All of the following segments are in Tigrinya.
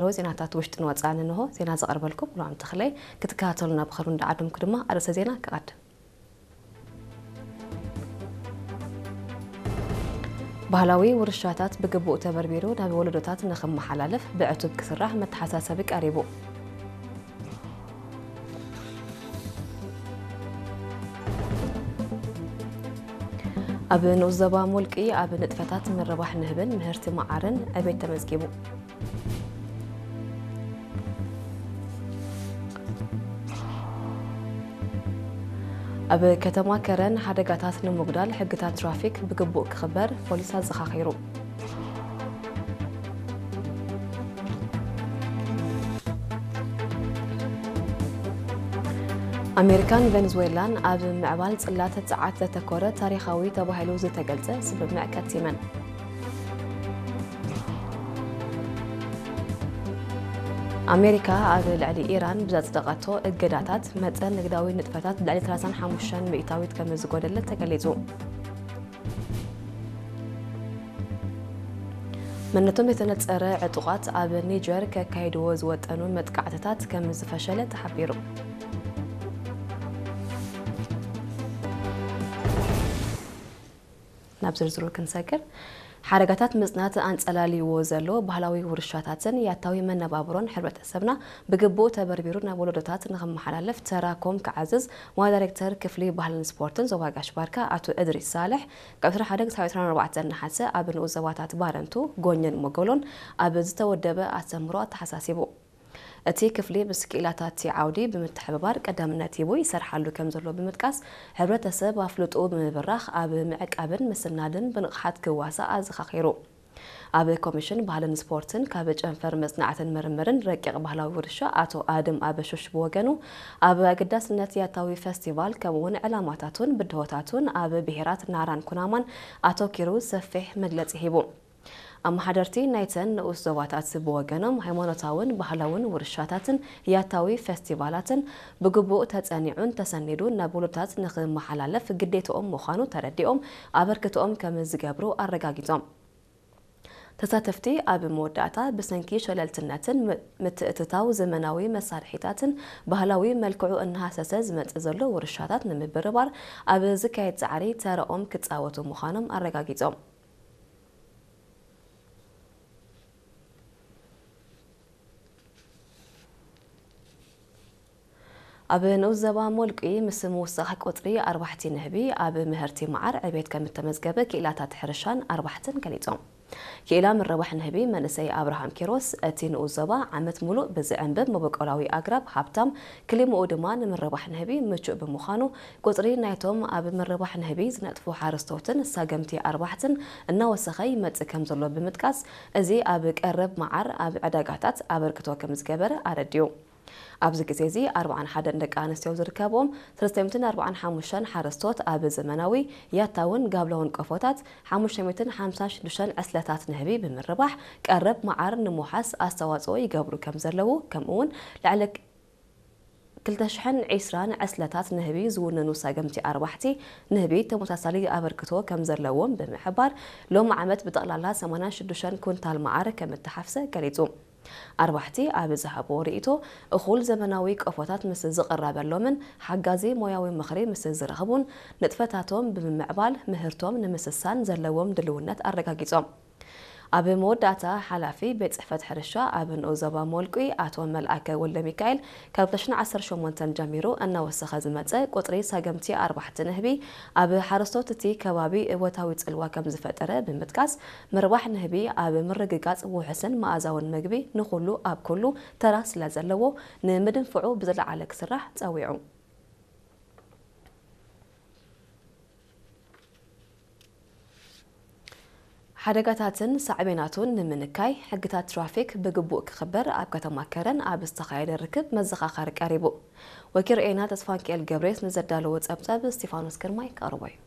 ኣለዎ። ዜናታት ውሽጥን ወጻእን እንሆ። ዜና ዘቕርበልኩም ሉዓም ተኽለይ። ክትከታተሉና ብኸሩ እንዳዓደምኩ ድማ ኣርእስተ ዜና ክቐድም። ባህላዊ ውርሻታት ብግቡእ ተበርቢሩ ናብ ወለዶታት ንኽመሓላለፍ ብዕቱብ ክስራሕ መተሓሳሰቢ ቀሪቡ። ኣብ ንኡስ ዞባ ሞልቂ ኣብ ንጥፈታት ምርባሕ ንህብን ምህርቲ መዓርን ዕቤት ተመዝጊቡ። ኣብ ከተማ ከረን ሓደጋታት ንምጉዳል ሕግታት ትራፊክ ብግቡእ ክኽበር ፖሊስ ኣዘኻኺሩ። ኣሜሪካን ቬንዙዌላን ኣብ ምዕባል ጽላት ጸዓት ዘተኮረ ታሪኻዊ ተባሂሉ ዝተገልጸ ስምምዕ ከቲመን። ኣሜሪካ ኣብ ልዕሊ ኢራን ብዘጽደቐቶ እገዳታት መጠን ንግዳዊ ንጥፈታት ብልዕሊ ሰላሳን ሓሙሽተን ሚእታዊት ከም ዝጎደለ ተገሊጹ። መንነቶም የተነጸረ ዕጡቓት ኣብ ኒጀር ከካይድዎ ዝወጠኑ መጥቃዕትታት ከም ዝፈሸለ ተሓቢሩ። ናብ ዝርዝሩ ክንሰግር፣ ሓደጋታት ምጽናት ኣንጸላልይዎ ዘሎ ባህላዊ ውርሻታትን ያታዊ መነባብሮን ሕብረተሰብና ብግቡእ ተበርቢሩ ናብ ወለዶታት ንኽመሓላለፍ ተራ ኮም ክዓዝዝ ዋና ዳይሬክተር ክፍሊ ባህልን ስፖርትን ዞባ ጋሽ ባርካ ኣቶ እድሪስ ሳልሕ ካብ ዕስራን ሓደን ክሳብ ዕስራን ኣርባዕተን ነሓሰ ኣብ ንኡስ ዞባታት ባረንቱ፣ ጎኘን ሞጎሎን ኣብ ዝተወደበ ኣስተምህሮ ኣተሓሳሲቡ። እቲ ክፍሊ ምስ ክኢላታት እቲ ዓውዲ ብምትሕብባር ቀዳምነት ሂቡ ይሰርሓሉ ከም ዘሎ ብምጥቃስ፣ ሕብረተሰብ ኣፍልጦኡ ብምብራኽ ኣብ ምዕቃብን ምስናድን ብንቕሓት ክዋሳእ ኣዘኻኺሩ። ኣብ ኮሚሽን ባህልን ስፖርትን ካብ ጨንፈር መጽናዕትን ምርምርን ረቂቕ ባህላዊ ውርሻ ኣቶ ኣድም ኣበሹሽ ብወገኑ፣ ኣብ ኣገዳስነት ያታዊ ፈስቲቫል ከምኡውን ዕላማታቱን ብድሆታቱን ኣብ ብሄራት ናራን ኩናማን ኣተኪሩ ሰፊሕ መግለጺ ሂቡ። ኣመሓደርቲ ናይተን ንኡስ ዞባታት ብወገኖም፣ ሃይማኖታውን ባህላውን ውርሻታትን ያታዊ ፈስቲቫላትን ብግቡእ ተጸኒዑን ተሰኒዱን ናብ ውሉዳት ንኽመሓላለፍ ግዴትኦም ምዃኑ ተረዲኦም ኣበርክትኦም ከም ዝገብሩ ኣረጋጊጾም። ተሳተፍቲ ኣብ መወዳእታ ብሰንኪ ሸለልትነትን ም-፣ ምትእትታው ዘመናዊ መሳርሒታትን ባህላዊ መልክዑ እናሃሰሰ ዝመጽእ ዘሎ ውርሻታት ንምብርባር ኣብ ዝካየድ ጻዕሪ ተረኦም ክጻወቱ ምዃኖም ኣረጋጊጾም። ኣብ ንኡስ ዞባ ሞልቂ ምስ ምውሳኽ ቁጽሪ ኣርባሕቲ ንህቢ ኣብ ምህርቲ መዓር ዕቤት ከም እተመዝገበ ክኢላታት ሕርሻን ኣርባሕትን ገሊጾም። ክኢላ ምርባሕ ንህቢ መንእሰይ ኣብርሃም ኪሮስ፣ እቲ ንኡስ ዞባ ዓመት ሙሉእ ብዝዕንብብ መበቆላዊ ኣግራብ ሃብታም፣ ክሊምኡ ድማ ንምርባሕ ንህቢ ምቹእ ብምዃኑ፣ ቁጽሪ ናይቶም ኣብ ምርባሕ ንህቢ ዝነጥፉ ሓረስቶትን ሳገምቲ ኣርባሕትን እናወሰኸ ይመጽእ ከም ዘሎ ብምጥቃስ፣ እዚ ኣብ ቀረብ መዓር ኣብ ዕዳጋታት ኣበርክቶ ከም ዝገበረ ኣረዲኡ። ኣብዚ ግዜ እዚ ኣርባዓን ሓደን ደቂ ኣንስትዮ ዝርከብዎም ሰለስተ ሚእትን ኣርባዓን ሓሙሽተን ሓረስቶት ኣብ ዘመናዊ ያታውን ጋብላውን ቆፎታት ሓሙሽተ ሚእትን ሓምሳን ሽዱሽተን ዕስለታት ንህቢ ብምርባሕ ቀረብ መዓር ንምውሓስ ኣስተዋጽኦ ይገብሩ ከም ዘለዉ፣ ከምኡ እውን ልዕሊ ክልተ ሽሕን ዕስራን ዕስለታት ንህቢ ዝውንኑ ሳገምቲ ኣርባሕቲ ንህቢ ተመሳሳሊ ኣበርክቶ ከም ዘለዎም ብምሕባር፣ ሎሚ ዓመት ብጠቕላላ ሰማንያን ሽዱሽተን ኩንታል መዓር ከም እተሓፍሰ ገሊጹ። ኣርባሕቲ ኣብ ዝሃብዎ ርእይቶ፣ እኹል ዘመናዊ ቆፎታት ምስ ዝቕረበሎምን ሓጋዚ ሞያዊ ምኽሪ ምስ ዝረኽቡን፣ ንጥፈታቶም ብምምዕባል ምህርቶም ንምስሳን ዘለዎም ድልውነት ኣረጋጊጾም። ኣብ መወዳእታ፣ ሓላፊ ቤት ጽሕፈት ሕርሻ ኣብ ንኡስ ዞባ ሞልቂ ኣቶ መልኣከ ወልደሚካኤል፣ ካብ ክልተ ሽሕን ዓሰርተ ሸሞንተን ጀሚሩ እናወሰኸ ዝመጸ ቁጽሪ ሳገምቲ ኣርባሕቲ ንህቢ፣ ኣብ ሓረስቶት እቲ ከባቢ እወታዊ ጽልዋ ከም ዝፈጠረ ብምጥቃስ፣ ምርባሕ ንህቢ ኣብ ምርግጋጽ ውሑስን መኣዛውን መግቢ ንኹሉ ኣብ ኩሉ ተራ ስለ ዘለዎ፣ ንምድንፍዑ ብዝለዓለ ክስራሕ ጸዊዑ። ሓደጋታትን ሳዕቤናቱን ንምንካይ፣ ሕግታት ትራፊክ ብግቡእ ክኽበር ኣብ ከተማ ከረን ኣብ ዝተኻየደ ርክብ መዘኻኸሪ ቀሪቡ። ወኪል ርኤና ተስፋንኪኤል ገብሬስ ንዘዳለዎ ጸብጸብ እስቲፋኖስ ግርማይ ከቕርቦ እዩ።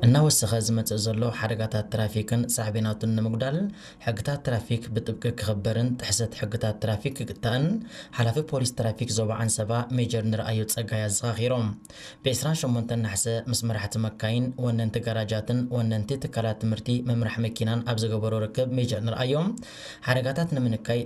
እናወሰኸ ዝመጽእ ዘሎ ሓደጋታት ትራፊክን ሳዕቤናቱን ንምጉዳል ሕግታት ትራፊክ ብጥብቂ ክኽበርን ጥሕሰት ሕግታት ትራፊክ ክግታእን ሓላፊ ፖሊስ ትራፊክ ዞባ ዓንሰባ ሜጀር ንርኣዮ ጸጋይ ኣዘኻኺሮም። ብ28 ነሓሰ ምስ መራሕቲ መካይን፣ ወነንቲ ጋራጃትን ወነንቲ ትካላት ትምህርቲ መምራሕ መኪናን ኣብ ዝገበሮ ርክብ ሜጀር ንርኣዮ ሓደጋታት ንምንካይ